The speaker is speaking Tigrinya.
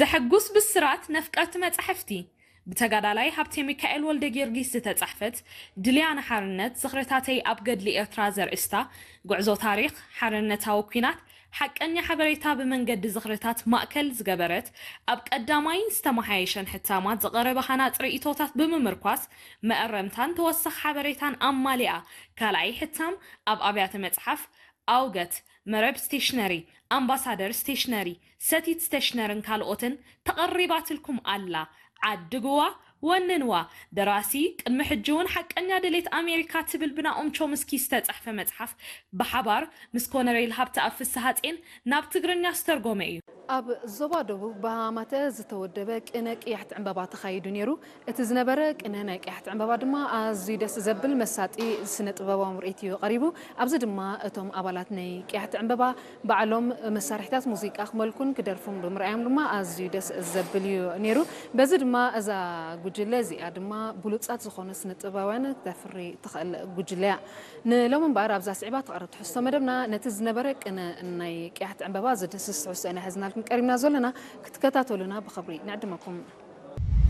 ዘሐጉስ ብስራት ነፍቀርቲ መጻሕፍቲ ብተጋዳላይ ሃብቴ ሚካኤል ወልደ ጊዮርጊስ ዝተጻሕፈት ድልያ ንሓርነት ዝኽርታተይ ኣብ ገድሊ ኤርትራ ዘርእስታ ጉዕዞ ታሪኽ ሓርነታዊ ኲናት ሓቀኛ ሓበሬታ ብመንገዲ ዝኽርታት ማእከል ዝገበረት ኣብ ቀዳማይን ዝተመሓየሸን ሕታማት ዝቐረበ ሃናጺ ርእይቶታት ብምምርኳስ መእረምታን ተወሳኺ ሓበሬታን ኣማሊኣ ካልኣይ ሕታም ኣብ ኣብያተ መጽሓፍ ኣውገት፣ መረብ ስቴሽነሪ፣ ኣምባሳደር ስቴሽነሪ፣ ሰቲት ስቴሽነርን ካልኦትን ተቐሪባትልኩም ኣላ። ዓድግዋ፣ ወንንዋ። ደራሲ ቅድሚ ሕጂ እውን ሓቀኛ ድሌት ኣሜሪካ ትብል ብናኦም ቾምስኪ ዝተጻሕፈ መጽሓፍ ብሓባር ምስ ኮነሬል ሃብተኣብ ፍስሃጼን ናብ ትግርኛ ዝተርጎመ እዩ። ኣብ ዞባ ደቡብ ብሃማተ ዝተወደበ ቅነ ቅያሕቲ ዕምበባ ተኻይዱ ነይሩ። እቲ ዝነበረ ቅነ ናይ ቅያሕቲ ዕምበባ ድማ ኣዝዩ ደስ ዘብል መሳጢ ስነ ጥበባዊ ምርኢት እዩ ቀሪቡ። ኣብዚ ድማ እቶም ኣባላት ናይ ቅያሕቲ ዕምበባ ባዕሎም መሳርሒታት ሙዚቃ ክመልኩን ክደርፉን ብምርኣዮም ድማ ኣዝዩ ደስ ዘብል እዩ ነይሩ። በዚ ድማ እዛ ጉጅለ እዚኣ ድማ ብሉጻት ዝኾኑ ስነ ጥበባውያን ክተፍሪ ትኽእል ጉጅለ እያ። ንሎሚ እምበኣር ኣብዛ ስዒባ ትቐርብ ትሕዝቶ መደብና ነቲ ዝነበረ ቅነ ናይ ቅያሕቲ ዕምበባ ዝድህስስ ትሕዝቶ ኢና ሒዝናልኩም ቀሪብና ዘለና። ክትከታተሉና ብኽብሪ ንዕድመኩም።